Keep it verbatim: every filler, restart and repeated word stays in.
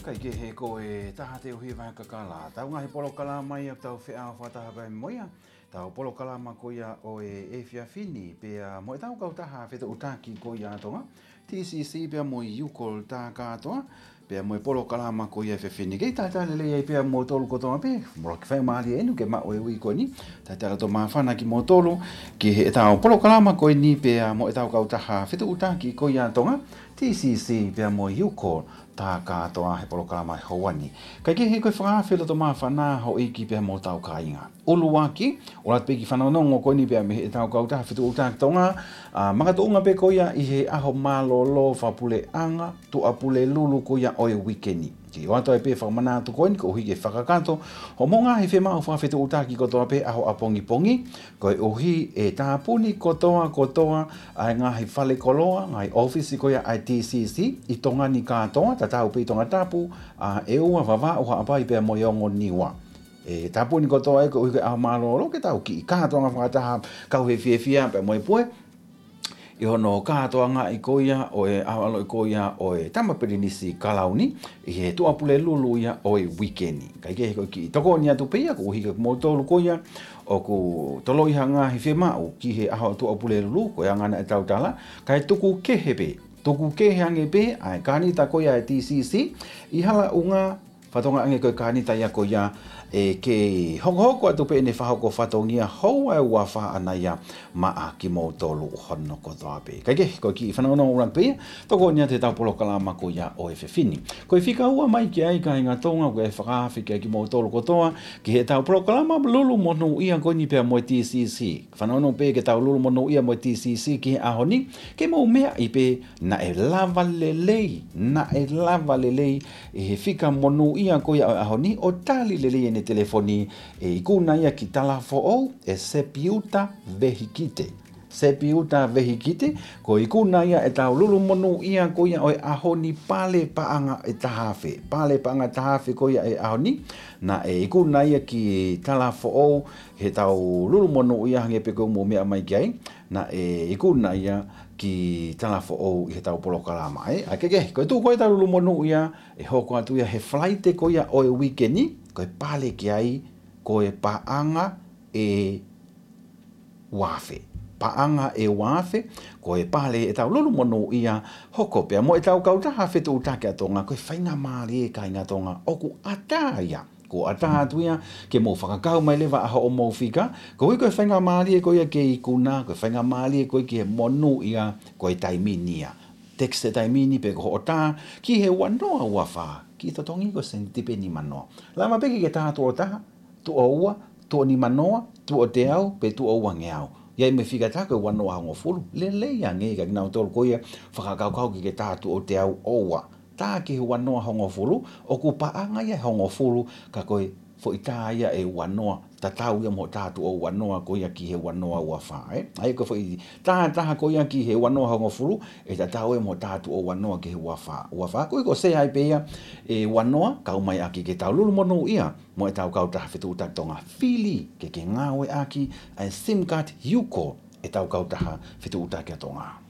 Kaikehe ko e taha te uhi vai kakala. Tau ngaahi polokalama ia tau feʻao fakataha pē mo ia. Tau polokalama ko ia ʻo e efiafi ni pea mo e tau kautaha fetuʻutaki ko ia Tonga, T C C pea mo e Yukol tā kātoa, pea mo e polokalama ko ia efiafi ni. Kei talitali lelei ai pea mo tolu kotoa pē, mo laki fai mālie enu ke maʻu e ui ko eni. Talitali atu māfana kimoutolu ki he tau polokalama ko eni pea mo e tau kautaha fetuʻutaki ko ia Tonga, T C C pea mo e Yukol tā kātoa he polokalama he houa ni. Kaikehe ko e fakaafe loto māfana houʻeiki pea mo tau kāinga. ʻUluaki, ʻoatu pē ki fanongonongo ko eni pea mei he tau kautaha fetuʻutaki Tonga, ʻa, makatuʻunga pē ko ia ʻi he ʻaho mālōlō fakapuleʻanga, Tuʻapulelulu ko ia ʻo e uike ni. Ke ʻoatu ai pē fakamanatu ko eni koeʻuhi ke fakakakato hoʻomou ngaahi fiemaʻu fakafetuʻutaki kotoa pē ʻaho ʻapongipongi, koeʻuhi ʻe tāpuni kotoa kotoa ʻa e ngaahi falekoloa, ngaahi ʻōfisi ko ia ʻa e T C C ʻi Tonga ni kātoa, tatau pē ʻi Tongatapu, ʻa, ʻEua, Vavaʻu, Haʻapai pea mo e ongo Niua. ʻE tāpuni kotoa ē koeʻuhi ko e ʻaho mālōlō ke tau kiʻi kātoanga fakataha kau he fiefia pea mo e pue ʻi hono kātoangaʻi ko ia ʻo e ʻaho ʻaloʻi ko ia ʻo e Tama Pilinisi Kalauni ʻi he Tuʻapulelulu ia ʻo e uike ni. Kaikehe ko e kiʻi tokoni atu pē ia koeʻuhi ko kimoutolu ko ia ʻoku toloi ha ngaahi fiemaʻu ki he ʻaho Tuʻapulelulu, ko e anga naʻe tau tala, kae tuku kehe pē, tuku kehe ange pē ʻa e kānita ko ia ʻa e T C C ʻi Halaʻunga, fatongia ange ko e kānita ia ko ia ʻe kei hokohoko atu pē ʻene fakahoko fatongia houa ʻe ua fā ʻaʻana ia maʻa kimoutolu hono kotoa pē. Kaikehe ko e kiʻi fanongonongo ʻuluaki pē ia, tokoni atu he tau polokalama ko ia ʻo e efiafi ni. Ko e fika ua mai ki ai kāinga Tonga, ko e fakaafe kia kimoutolu kotoa ki he tau polokalama lulu monūʻia ko eni pea mo e T C C. Fanongo pē ke tau lulu monūʻia mo e T C C ki he ʻaho ni, ke mou meaʻi pē naʻe lava lelei, naʻe lava lelei ʻe he fika monūʻia ko ia ʻo e ʻaho ni ʻo tali lelei ʻene telefoni, ʻe ikuna ia ki Talafoʻou, ʻe Sepiuta Vehikite. Sepiuta Vehikite, ko e ikuna ia ʻetau lulu monūʻia ko ia ʻo e ʻaho ni, pale paʻanga ʻe taha afe. Pale paʻanga taha afe ko ia ʻo e ʻaho ni, naʻe ikuna ia ki Talafoʻou, he tau lulu monūʻia hangē pē ko e mou meʻa mai ki ai, naʻe ikuna ia ki Talafoʻou ʻi he tau polokalama, ē? ʻA, kaikehe, ko e tuʻu ko ē ʻetau lulu monūʻia, ʻe hoko atu ia he Falaite ko ia ʻo e uike ni, ko e pale ki ai, ko e paʻanga ʻe ua afe. Paʻanga ʻe ua afe, ko e pale ʻetau lulu monūʻia, hoko pea mo e tau kautaha fetuʻutaki ʻa Tonga, ko e faingamālie kāinga Tonga, ʻoku ʻatā ia. Kuo ʻatā atu ia ke mou fakakau mai leva ʻa hoʻomou fika, koeʻuhi ko e faingamālie ko ia ke ikuna, ko e faingamālie ko ia ki he monūʻia, ko e taimi ni ia. Text e taimi ni pe ko hoʻo tā, ki he ua noa ua fā, kiʻi totongi ko e sēniti pē nima noa. Lava pē ke ke tā tuʻo taha, tuʻo ua, tuʻo nima noa, tuʻo teau, pe tuʻo uangeau. ʻI ai mo e fika tā ko e ua noa hongofulu. Lelei ange kia kinautolu ko ia fakakaukau ke ke tā tuʻo teau ʻo ua. Tā ki he ua noa hongofulu, ʻoku paʻanga ia ʻe hongofulu, ka ko e foʻi tā ia ʻe ua noa, tatau ia mo e tā tuʻo ua noa ko ia ki he ua noa ua fā, ē? ʻA ia ko e foʻi tā ʻe taha ko ia ki he ua noa hongofulu, ʻe tatau ia mo e tā tuʻo ua noa ki he ua fā, ua fā. Koeʻuhi ko e sē ai pē ia ʻe ua noa, kau mai ʻaki ke tau lulu monūʻia mo e tau kautaha fetuʻutaki Tonga, fili ke ke ngāueʻaki ʻa e sim card Yukol ʻetau kautaha fetuʻutaki ʻa Tonga.